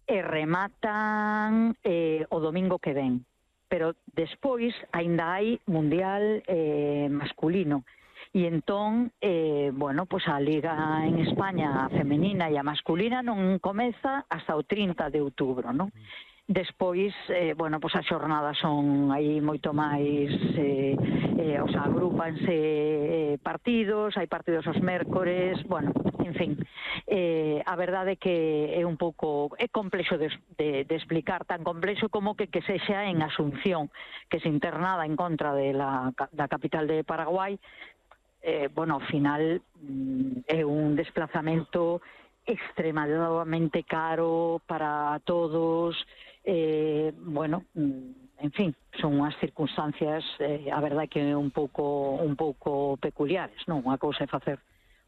e rematan o domingo que ven. Pero despois aínda hai mundial masculino. E entón, pues a Liga en España femenina e a masculina non comeza hasta o 30 de outubro, non? Despois, pues as xornadas son aí moito máis, agrúpanse partidos, hai partidos os mércores, en fin, a verdade é que é un pouco, é complexo de explicar, tan complexo como que sexa en Asunción, que se internada en contra da capital de Paraguai. Ao final é un desplazamento extremadamente caro para todos, en fin, son unhas circunstancias, a verdade que un pouco peculiares, non? Unha cousa é facer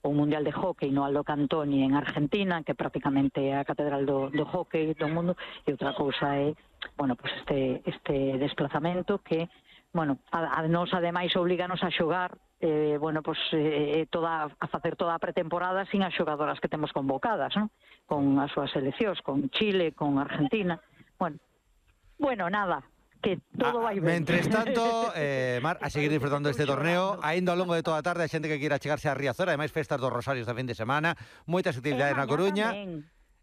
o Mundial de Hóquei no Aldo Cantoni en Argentina, que prácticamente é a catedral do hóquei do mundo, e outra cousa é, pues este desplazamento que, a nos ademais obliganos a xogar a facer toda a pretemporada sin as xogadoras que temos convocadas, non? Con as súas seleccións, con Chile, con Argentina. Nada, que todo vai ben. Mentres tanto, Mar, a seguir disfrutando deste torneo, aínda ao longo de toda a tarde a xente que queira chegarse a Riazor, ademais festas dos Rosarios da fin de semana, moitas actividades na Coruña.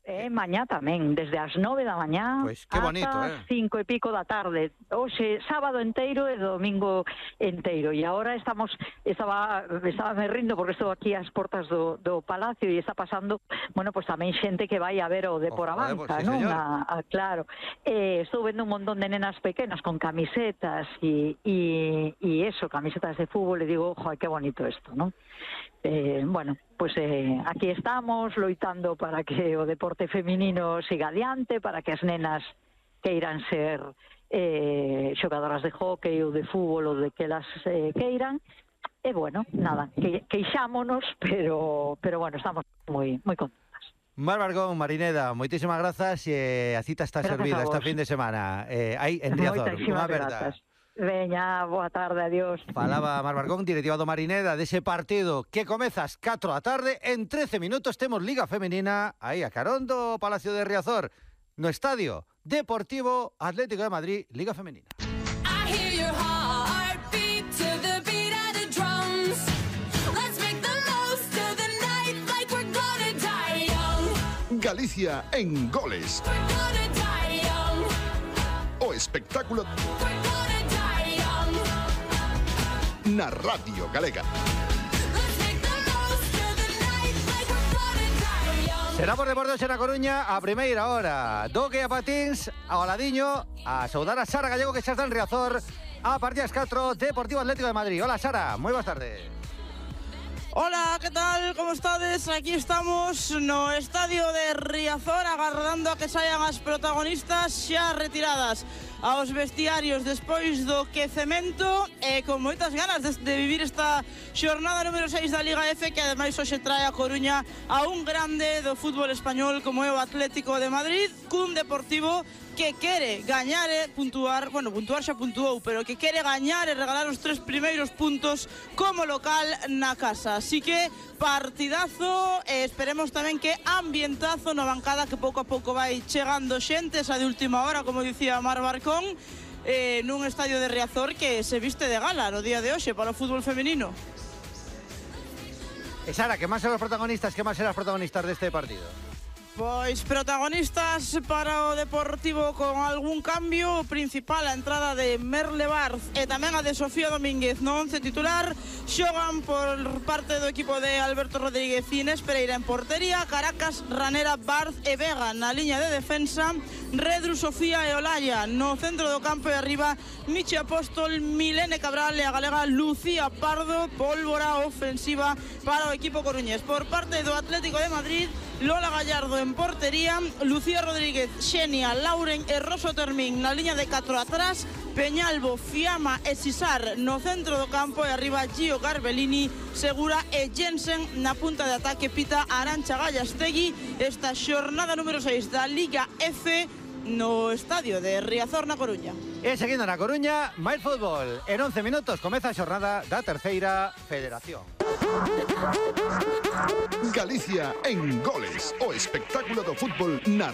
Mañá tamén, desde as 9 da mañá ata 5 e pico da tarde. Hoxe, sábado enteiro e domingo enteiro. E agora estaba me rindo porque estou aquí ás portas do Palacio e está pasando, pues tamén xente que vai a ver o Depor Avanza, non? Claro. Estou vendo un montón de nenas pequenas con camisetas e camisetas de fútbol, e digo, ojo, que bonito isto, non? Aquí estamos loitando para que o deporte feminino siga adiante, para que as nenas queiran ser xogadoras de hóquei ou de fútbol ou de que elas queiran. E nada, queixámonos, pero estamos moi contentas. Mar Barcón, Marineda, moitísimas grazas e a cita está servida esta fin de semana. Hai en Riazor, unha verdade. Veña, boa tarde, adiós. Falaba Mar Barcón, directiva do Marineda, dese partido que comeza ás 4 da tarde. En 13 minutos temos Liga Femenina aí a carón do Palacio de Riazor, no Estadio Deportivo Atlético de Madrid, Liga Femenina. Galicia en goles. O espectáculo na Radio Galega. Será por Deportes en A Coruña a primeira hora. Doque a patins, ao ladiño, a saudar a Sara Gallego que xa está en Riazor a partir das 4, Deportivo Atlético de Madrid. Hola Sara, moi boas tardes. Hola, ¿qué tal? ¿Cómo estades? Aquí estamos no estadio de Riazor agardando a que saian as protagonistas xa retiradas aos vestiarios despois do quecemento e con moitas ganas de vivir esta xornada número 6 da Liga F, que ademais hoxe trae a Coruña a un grande do fútbol español como é o Atlético de Madrid, cun Deportivo que quere gañar e puntuar, puntuar xa puntuou, pero que quere gañar e regalar os 3 primeiros puntos como local na casa. Así que partidazo, esperemos tamén que ambientazo na bancada, que pouco a pouco vai chegando xente, esa de última hora, como dicía Mar Barcón, nun estadio de Riazor que se viste de gala no día de hoxe para o fútbol femenino. E Sara, que máis serán os protagonistas, deste partido? Pois protagonistas para o Deportivo con algún cambio, o principal a entrada de Merle Barz e tamén a de Sofía Domínguez no 11 titular. Xogan por parte do equipo de Alberto Rodríguez Inés Pereira en portería, Caracas, Ranera, Barz e Vega na liña de defensa, Redru, Sofía e Olaya no centro do campo, e arriba Michi Apóstol, Milene Cabral e a galega Lucía Pardo. Pólvora ofensiva para o equipo coruñés. Por parte do Atlético de Madrid, Lola Gallardo en portería, Lucía Rodríguez, Xenia, Lauren e Roso Termín na liña de 4 atrás, Peñalbo, Fiamma e Sisar no centro do campo, e arriba Gio Garbellini, Segura e Jensen na punta de ataque. Pita Arantxa Gallastegui esta xornada número 6 da Liga F no estadio de Riazor na Coruña. E seguindo na Coruña, máis fútbol. En 11 minutos comeza a xornada da terceira federación. Galicia en goles, o espectáculo do fútbol na